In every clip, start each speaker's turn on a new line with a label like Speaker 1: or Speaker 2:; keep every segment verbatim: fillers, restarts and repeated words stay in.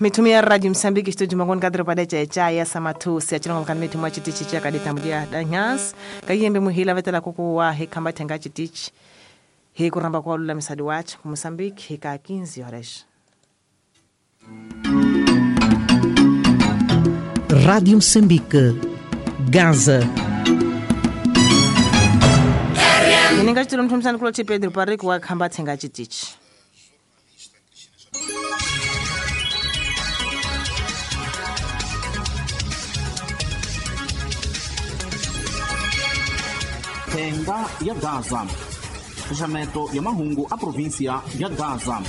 Speaker 1: Mithumi ya Radio Msambiki studio mangoni kadro pada cha cha ya samathusi achilongo kan mithu mwa chitichi cha kadita mudia danyas kayembe muhila vetela kukuwa hekamba thenga chitichi hi kuramba kwa lula misadi wacha ku Msambiki hika quinze horas.
Speaker 2: Rádio Moçambique, Gaza.
Speaker 1: Ninga chitilo mthumsani kulo Pedro Parrico wa khamba thenga chitichi.
Speaker 3: Thenga ya Gaza. Xaxameto ya mahungu a província ya Gaza.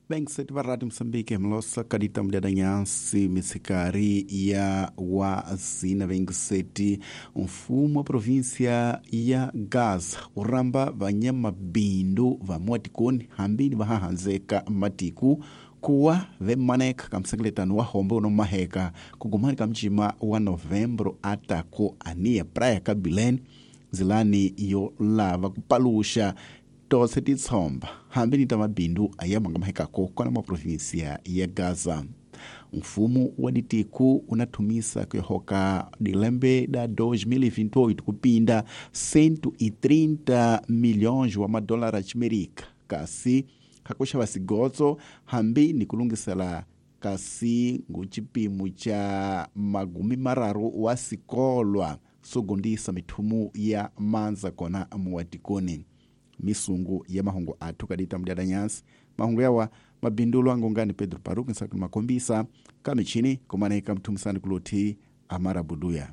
Speaker 4: Benkseti va Radio Moçambique mlosa kadita mdiadanyansi misikari ya wazina benkseti mfumo wa província ya Gaza uramba vanyamabindu va mwatikoni hambini vahahanzeka matiku kuwa vemaneka kamsengeletano wa hombe unomaheka kugumani kamcima wa novembro atako ania praia kabileni zilani yo lava kupalusha tose titsomba hambi ni ta mabindu ayamanga mahekako kona mwa província ya Gaza. Mfumo wa ditiku unathumisa kuyohoka dilembe da dois mil e vinte e oito kupinda cento e trinta milhões wa madólar achimerika kasi hakuxava sigotso hambi ni kulungisela kasi nguchipimo cha magumi mararu wa sikolwa sogondisa mithumu ya manza kona muwatikoni. Misungu ya mahungu athu kadita mdiadanyansi mahungu yawa mabindulo angongani Pedro Paruki nsakuni makombisa kamichini kumaneka mthumisani kuluthi Amara Buduya.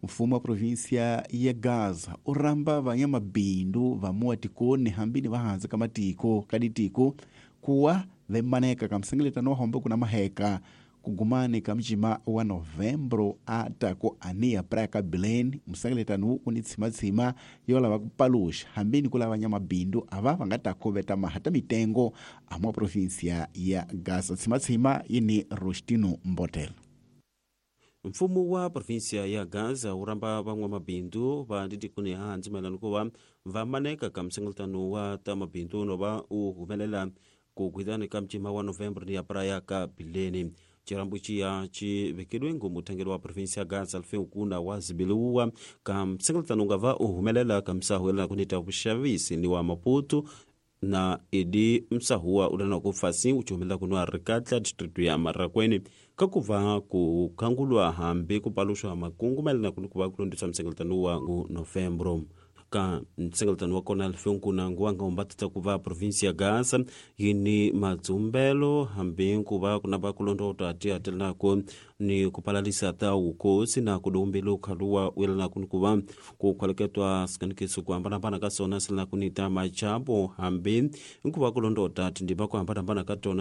Speaker 4: Mfumo wa província ya Gaza uramba vanyamabindu va muwatikoni hambini vahanzi ka matiko kaditiko kuwa vemaneka kamsengeletano wa hombe kuna maheka kugumani kamcima wa novembro atako ania praia kabileni msengeletano uni tsimatsima yolava kupalusha hambini kulava nyamabindu ava vangatako veta mahata mitengo amwa província ya Gaza. Tsimatsima yini Rostino Mbotel.
Speaker 5: Mfumo wa província ya Gaza uramba van'wamabindu va nditikuni hansi mayelana ku va va maneka ka msengeletano wa ta mabindu no va u humelela ku gwitani ka mcima wa novembro ni ya praia ka bileni. Chirambo chiya chivekeliwe ngomutangeli wa província ya Gaza Alfeu Kuna wa zibiliwa ka msengeletano nga va u humelela ka msahu yelana kunita vuxavisi ni wa Maputo na edi msahuwa ulana ku fasi uchumelela kunwa rikatla district ya Marraquene kakuva ku khangulwa hambi ku paluxwa makungu mayelana kuni ku va ku londisa msengeletano wa ngu novembro. Ka msengeletano wa kona Alfeu Kuna nguwanga umbatata ku va província ya Gaza yini madzumbelo hambi ku va kuna va ku londota tiatelanako ni ku palalisa ta wukosi na ku dumbelo khaluwa uyelana kuni ku va ku khwaleketwa sikanekiso ku hambanahambana ka sona silana kuni ta machapo hambi nku va ku londota tindima ku hambanahambana ka tona.